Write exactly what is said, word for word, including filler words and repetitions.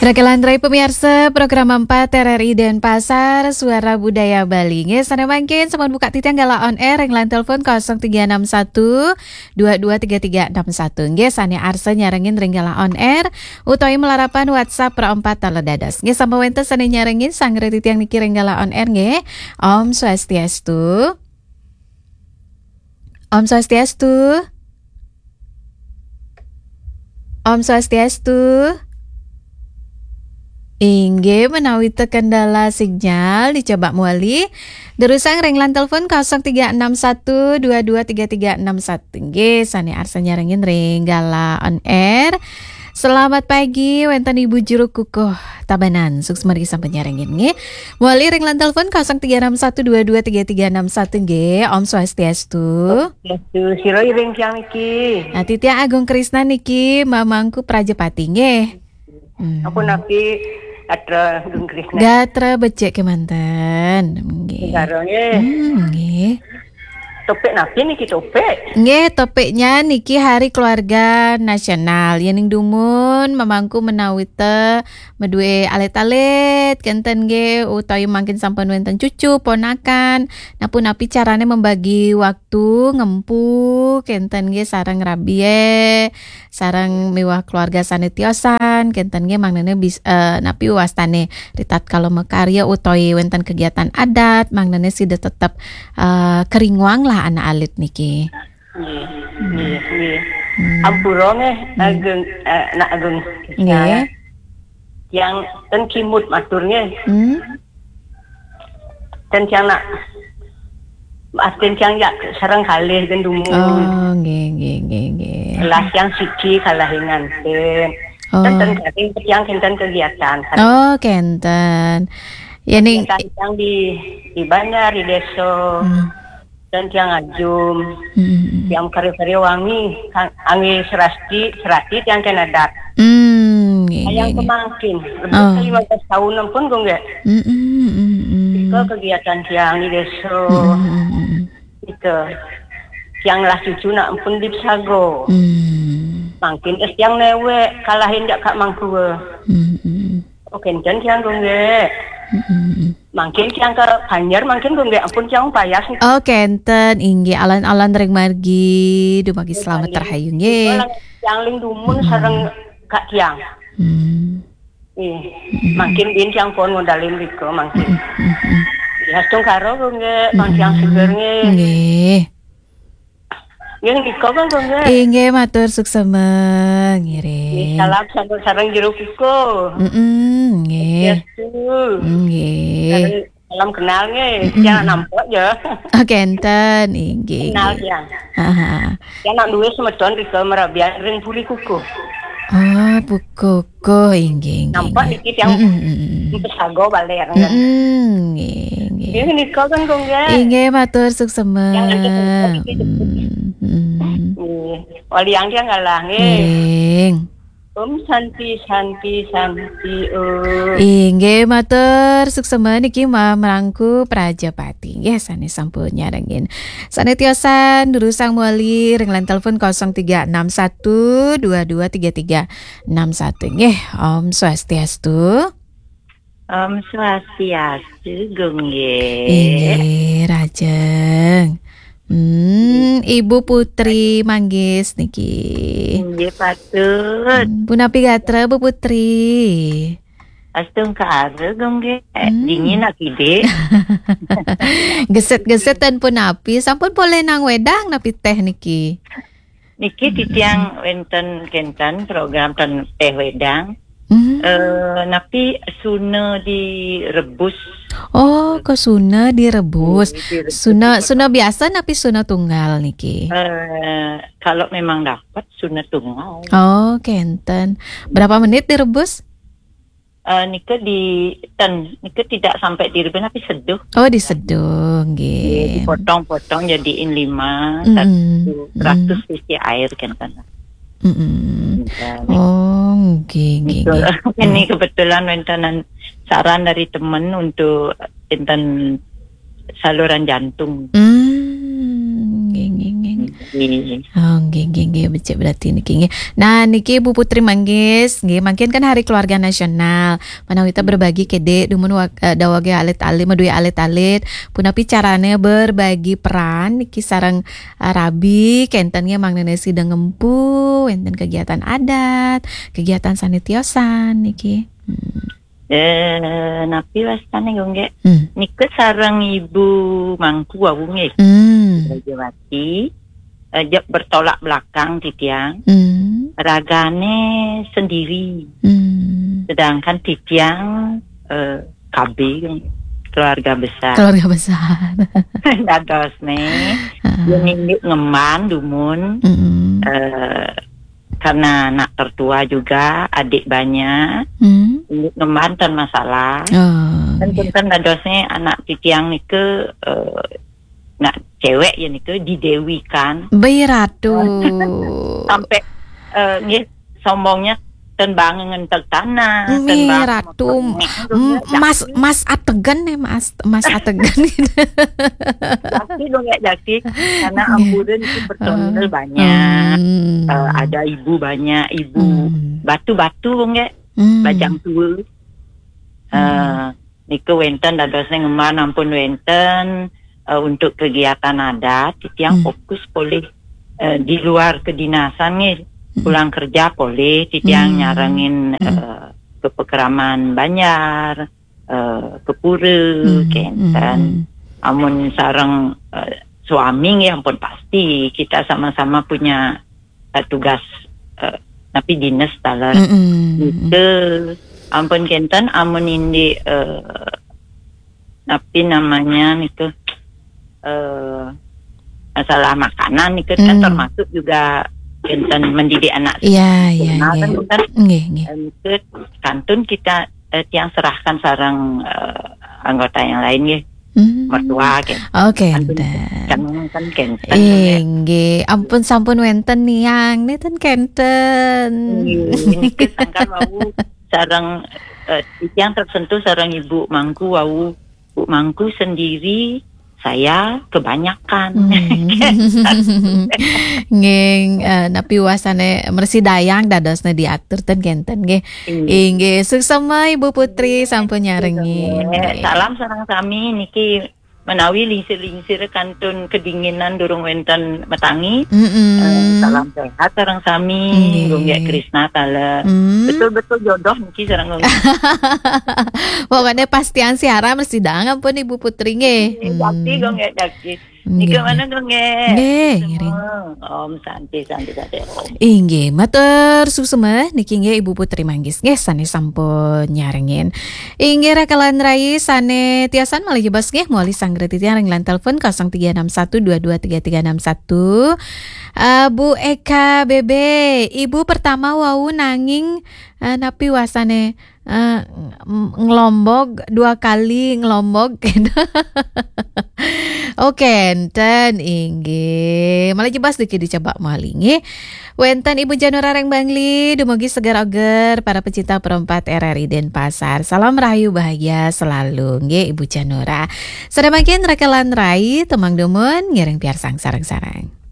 Raka lan rai pamiarsa program empat R R I Denpasar, Suara Budaya Bali. Nggih, sané mangkin sampun buka titiang galah on air ring line telepon kosong tiga enam satu dua dua tiga tiga enam satu. Nggih, sané arsa nyarengin ring galah on air utawi malarapan WhatsApp Pro empat taler dados. Nggih, sampun wénten sané nyarengin sareng titiang niki ring galah on air nggih. Om Swastiastu. Om Swastiastu. Om Swastiastu. Inggih, menawi té kendala sinyal, dicoba malih. Durusang ring line telepon kosong tiga enam satu dua dua tiga tiga enam satu. Nggih, sané arsa nyarengin ring galah on air. Selamat pagi, wénten Ibu Juru Kukuh Tabanan. Suksma niki sampun nyarengin nggih. Malih ring line telepon kosong tiga enam satu dua dua tiga tiga enam satu nggih. Om Swastiastu. Swastiastu, sira iring tiang niki. Nah, titiang Agung Krisna niki, mamangku Prajapati nggih. Hmm. Ampun napi, atra Agung Krisna. Gatra becik kémanten. Nggih. Negara nggih. Hmm, nggih. Topik napi niki topik? Nggih, topiknya niki Hari Keluarga Nasional. Yéning dumun mamangku menawi té madué alit-alit kénten nggih, utawi mangkin sampun wénten cucu, ponakan, napi-napi carané membagi waktu ngempu kénten nggih sareng rabié, sareng miwah keluarga sané tiosan, kénten nggih mangdané bis-, eh, napi wastané ritatkala makarya utawi wénten kegiatan adat, mangdané sida tetep, eh, keringuang lah anak alit niki. Nggih, nggih, nggih. Hmm. Ampura nggih, hmm. Agung, eh, Nak Agung. Nggih. Tiang ten kimud matur nggih. Hmm. Ten tiang nak, ah, ten tiang jak sareng kalih ten dumun. Oh, nggih, nggih, nggih, nggih. Kelas tiang siki kalah nganten. Oh. Ten, ten garing tiang kénten kegiatan. Oh, kénten. Yéning kegiatan tiang di, di banjar, di desa. Hmm. Dan tiang ngajum, hmm, tiang karya-karya wangi, kang-, anggé serasti, serati tiang kén adat. Hmm, nggih, hayang nggih, nggih. Kemangkin, lebih, oh, ke lima belas tahun ampun, Gung, nggih. Hmm, hmm, hmm, hmm. Nika kegiatan tiang di desa. Hmm, hmm, hmm, hmm. Nika. Tiang lah cucu nak ampun di Pesago. Hmm. Mangkin es tiang néwék, kalahin jak Kak Mangkua. Hmm, hmm. Oh, kénten tiang, Gung, nggih. Hmm, hmm, hmm. Mangkin tiang ke Banjar, mangkin Gung nggih ampun tiang payas. Oh, kénten, inggih, alon-alon ring margi, dumargi slamet rahayu nggih. Tiang ling dumun sareng Kak tiang. Hmm. Nggih. Mangkin bin tiang pun ngodalin rika mangkin. Hmm, hmm, hmm. Ya, astungkara Gung nggih, pang tiang seger nggih. Nggih. Nggih, nika kan, Gung, nggih. Inggih, matur suksema, ngiring. Nggih, salam sambut sareng jero kukuh. Mm-mm, nggih. Swastiastu. Nggih. Sareng salam kenal, nggih. Mm-mm. Tiang nampak ya. Oh, kénten, inggih, kenal, inggih. Tiang. Ha, ha. Tiang nak duwe semeton rika marabian ring Puri Kukuh. Oh, Puri Kukuh, inggih, inggih, nampak inggih. Niki tiang, mm-mm, mm-mm, Pesago baler, kan. Mm-mm, nggih, nggih. Nggih, nika kan, Gung, nggih. Inggih, matur suksema. Tiang nanti semeton niki jemput. Mm, mm. Nggih. Waliang tiang ngalah, nggih. Ngiring. Om Santi, Santi, Santi, Om. Inggih, matur suksema niki Ma-, Marangku Prajapati. Nggih, sané sampun nyarengin. Sané tiosan, durusang malih ring line telepon kosong tiga enam satu dua dua tiga tiga enam satu. Nggih, Om Swastiastu. Om Swastiastu, Gung, nggih. Inggih, rajeng. Hmm, nggih. Ibu Putri Manggis niki. Nggih, patut. Hmm, punapi gatra, Bu Putri? Astungkara, Gung, nggih. Hmm. Dingin akidik. Geset-geset ten punapi, sampun polih nang wedang napi téh niki? Niki titiang wénten kénten program ten téh wedang. Hmm. Eh, napi suna direbus. Oh, ke suna direbus. Nggih, direbus. Suna, suna biasa napi suna tunggal niki? Eh, kalau memang dapat suna tunggal. Oh, kénten. Berapa menit direbus? Eh, nika di ten, nika tidak sampai direbus, tapi seduh. Oh, diseduh, nggih. Nggih, dipotong-potong jadiin lima, mm-mm, satu ratus, mm, cc air kan, kan. Mm-mm. Nggih. Oh, nggih, nggih, betul, nggih. Ini kebetulan wénten saran dari teman untuk enten saluran jantung. Hmm, nggih, nggih, nggih, nggih. Nggih. Oh, nggih, nggih, nggih, becik berarti niki nggih. Nah, niki Bu Putri Manggis, nggih, mangkin kan Hari Keluarga Nasional. Menawi kita berbagi kede dumun wa-, eh, dawage alit-alit, madue alit-alit. Punapi carane berbagi peran niki sareng, eh, rabi, kenten nggih mangdane sida ngempu, wenten kegiatan adat, kegiatan sane tiosan niki. Hmm. Eh, napi wastane, Gung, nggih? Hmm. Nika sareng Ibu Mangku wau nggih. Hmm. Rajawati, eh, jek bertolak belakang titiang. Hmm. Ragane sendiri. Hmm. Sedangkan titiang, eh, K B, keluarga besar. Keluarga besar. Dados ne, Heeh. Yen indik ngemban dumun, Mm-mm. eh, karena anak tertua juga, adik banyak, Hmm. indik ngemban ten masalah. Oh, Kan iya. Kan dados ne anak titiang nike, eh, nak cewek ya nike didewikan. Baik, Ratu. Sampai, eh, nggih, sombongnya ten bang ngenteg tanah, ten Nggih, bang Ratu. Ngenteg tanah, M-, Mas, Mas Ategen nih, Mas, Mas Ategen gitu. Jaki dong ya, jaki. Karena Nggih. Ampura itu personil Heeh. banyak. Hmm. Eh, ada ibu banyak, ibu Hmm. batu-batu, Gung, nggih. Hmm. Bajang tua. Hmm. Eh, nika wenten dadosne ngemban ampun wenten, eh, untuk kegiatan adat, titiang Hmm. fokus polih, eh, di luar kedinasan nggih. Hmm. Pulang kerja polih, titiang Hmm. nyarengin, Hmm. eh, ke pekeraman banjar, eh, ke pura, Hmm. kenten. Hmm. Amun sareng, eh, suami nggih ampun pasti kita sama-sama punya, eh, tugas, eh, napi dinas taler. Mm-mm. Nika ampun kenten amun indik, eh, napi namanya niku, eh, masalah makanan niku kan Hmm. termasuk juga kenten mendidik anak Iya, iya, sekolah kan nggih. Kan. Nggih, nggih. Eh, niku kantun kita, eh, tiang serahkan sareng, eh, anggota yang lain nggih. Hmm. Mertua, kenten. Oh, kenten. Kan, kan kenten, ya. Inggih, ampun sampun wenten niang, nenten kenten. Inggih, niki sangkan wau sareng, eh, tiang tersentuh sareng Ibu Mangku wau. Bu Mangku sendiri, saya kebanyakan. Hmm. Nggih, eh, napi wasane mersidayang dadosne diatur ten kenten nggih. Inggih. Inggih, suksema Ibu Putri sampun nyarengin. Inggih. Salam sareng sami niki menawi lingsir-lingsir kantun kedinginan durung wenten metangi. Mm-mm. Eh, salam sehat sareng sami. Inggih. Gung Gek Krisna taler. Mm. Betul-betul jodoh niki sareng Gung Gek. Pokoknya pastian siaran mersidayang ampun Ibu Putri nggih. Inggih, jaki, hmm. Gung Gek jaki. Nggih, nggih. Nika mana, Gung Gek? Nggih, semua. Ngiring. Om Santi, Santi, Santi, Om. Inggih, matur suksema niki nggih Ibu Putri Manggis nggih sane sampun nyarengin. Inggih, raka lan rai sane tiosan malih jebos nggih, mawali sanggra titiang ring line telepon kosong tiga enam satu dua dua tiga tiga enam satu. Eh, Bu Eka B B, Ibu pertama wau nanging, eh, napi wasane, eh, ng-, ngelombog dua kali ngelombog. Oke, enten inggih. Malih jebos niki dicoba malih nggih. Wenten Ibu Janura ring Bangli, dumugi seger oger para pecinta Pro empat R R I Denpasar. Salam rahayu bahagia selalu nggih Ibu Janura. Sane mangkin raka lan rai, temang dumun ngiring piarsang sareng-sareng.